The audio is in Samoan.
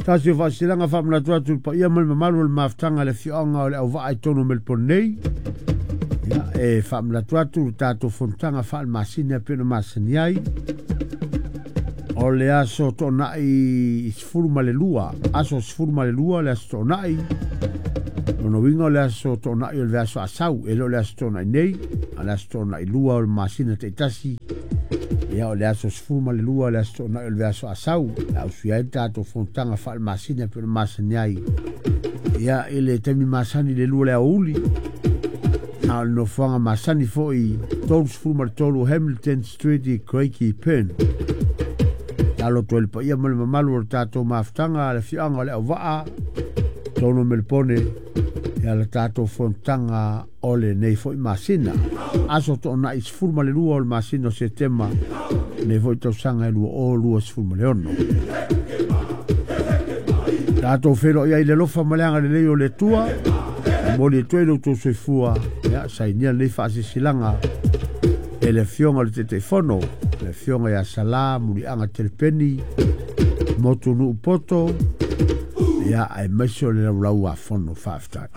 Tasi o faasilasilaga faamanatu atu i le paia ma le mamalu o le mafutaga i le afioaga o Leauvaa i totonu o Melipone nei. Ia, e faamanatu atu le tatou fonotaga faale-masina e pei ona masani ai. O le aso Toonai 12, aso 12 le aso Toonai. Lona uiga o le aso Toonai o le vaiaso a sau, e le o le aso Toonai nei, a o le aso Toonai 2 o le masina taitasi. Ia, o le aso 12 le aso Toonai o le vaiaso a sau, e ausia ai le tatou fonotaga faale-masina e pei ona masani ai. Ia, i le taimi masani i le 2 i le aoauli, a o le nofoaga masani foi 33 Hamilton Street i Craigieburn. Talo atu ai le paia ma le mamalu o le tatou mafutaga, le afioaga o Leauvaa, totonu o Melipone, ia le tatou fonotaga o lenei foi masina. Aso Toonai 12 o le masina o Setema, lenei foi tausaga e 2026. Tatou feiloai ai i le alofa ma le agalelei o le Atua, momoli atu ai lo outou soifua, ia sainia lenei faasilasilaga e le Afioga i le Taitaifono, le Afioga ia Sala Muliaga Telepeni, Motunuu Poto, ia aemaise o le Laulau a Fono. Faafetai.